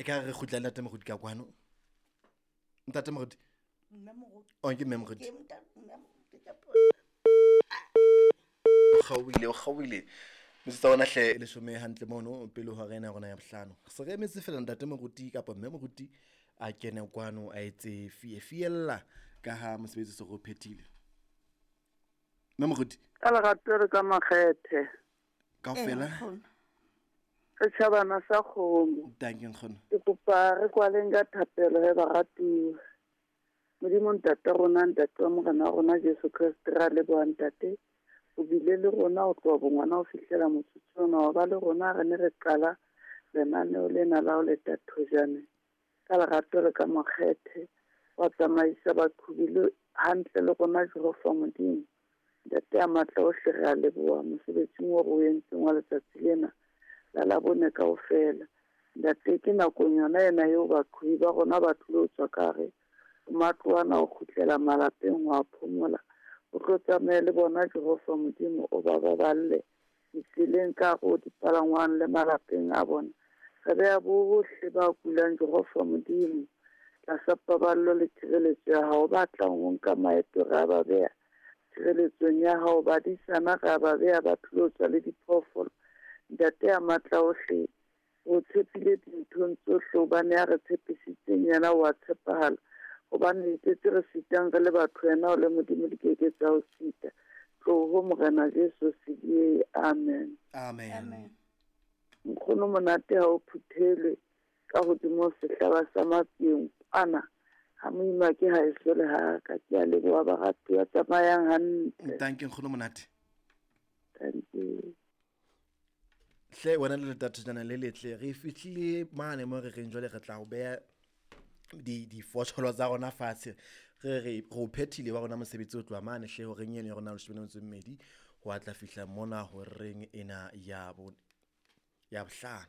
ka re kgutla le ntate Moruti ka kwano. Ntate Moruti. Mme Moruti. Oh, ke mme Moruti. Ke mme Moruti ka O kgaohile, o kgaohile. Metsotso ya rona hle e leshome hantle mono pele ho hora ena ya rona ya bohlano. Se re emetse feela ntate Moruti kapa mme Moruti a kene kwano a etse fie fiella ka ha mosebetsi o se re o phethile. Mme Moruti. Ka lerato le ka makgethe. Kaofela. Setjhabana sa kgomo. Dankie nkgono. Ke kopa re kwaleng ka thapelo he baratuwa. Modimo ntate rona ntate wa morena wa rona Jesu Kreste ra leboha ntate. O bile le rona ho tloha bongwana ho fihlela motsotso ona wa ba le rona re ne re qala lenaneo lena la ho leta thojane ka lerato le ka makgethe wa tsamaisa baqhobi le hantle le rona Jehova Modimo. Ntate ya matla ohle re a leboha mosebetsing o re o entseng wa letsatsi lena la Labone kaofela. Ntate ke nakong yona ena eo baqhobi ba rona ba tlilo tswa ka hare ho matlo ana ho kgutlela malapeng ho a phomola. O tlo tsamaye le bona Jehova Modimo o ba baballe ditseleng ka hare ho dipalangwang le malapeng a bona. Re beha bohle ba kulang Jehova Modimo tlasa paballo le tshireletso ya hao. Ba tlang ho nka maeto re a ba beha tshireletsong ya hao. Badisana re a ba beha ba tlilo tswa le diphoofolo. Ntate ya matla ohle, o tshepile dinthong tsohle hobane ya re tshepisitseng yena o a tshepahala. Hobane dintho tse re sitang re le batho yena o le Modimo di keke tsa o sita. Tloho Morena Jesu se diehe. Amen. Amen. Amen. Nkgono monate ha o phuthelwe ka hodimo sehlaba sa matsieng kwana ha moima ke ha eso le haka. Ke a leboha baratuwa, tsamayang hantle. Dankie nkgono monate. Thank you. Hle wena le letatjana le letle re fihlile mane mo re reng jwale re tla o beha di tsa rona fatshe re re o phethile wa rona mosebetsi o tloha mane hle horeng eno ya rona leshome le metso e mmedi ho a tla fihla mona horeng ena ya bo ya bohlano.